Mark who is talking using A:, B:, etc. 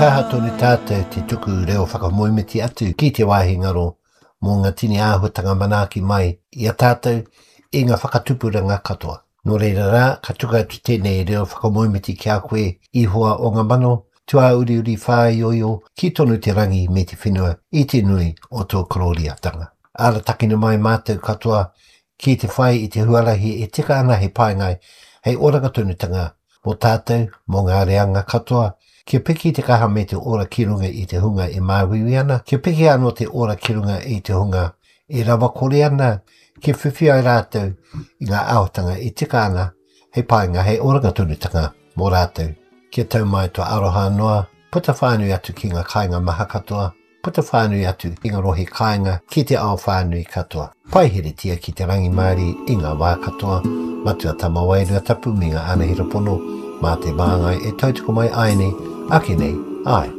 A: Kaha tonu tātou te tuku reo whakamoemiti atu ki te wāhi ngaro mō ngā tini āhuatanga manaaki mai i a tātou i ngā whakatupuranga katoa. Nō reira rā, ka tuku atu tēnei reo whakamoemiti ki a koe, Ihoa o ngā mano, tuāuriuri whāioio, ki tonu te rangi me te whenua i te nui o tō korōriatanga. Aratakina mai mātou katoa ki te whai i te huarahi e tika ana hei painga, hei oranga tonutanga mō tātou, mō ngā reanga katoa, kia piki te kaha me te ora ki runga i te hunga e māuiui ana, kia piki anō te ora ki runga i te hunga e rawakore ana, kia whiwhi ai rātou i ngā āhuatanga e tika ana hei painga, hei oranga tonutanga mō rātou. Kia tau mai tō aroha noa, puta whānui atu ki ngā kāinga maha katoa, Puta whānui atu i ngā rohe kāinga ki te ao whānui katoa. Paiheretia ki te rangimārie i ngā wā katoa, Matua Tama Wairua Tapu me ngā anahera pono, mā te māngai e tautoko mai āianei, ake nei, āe.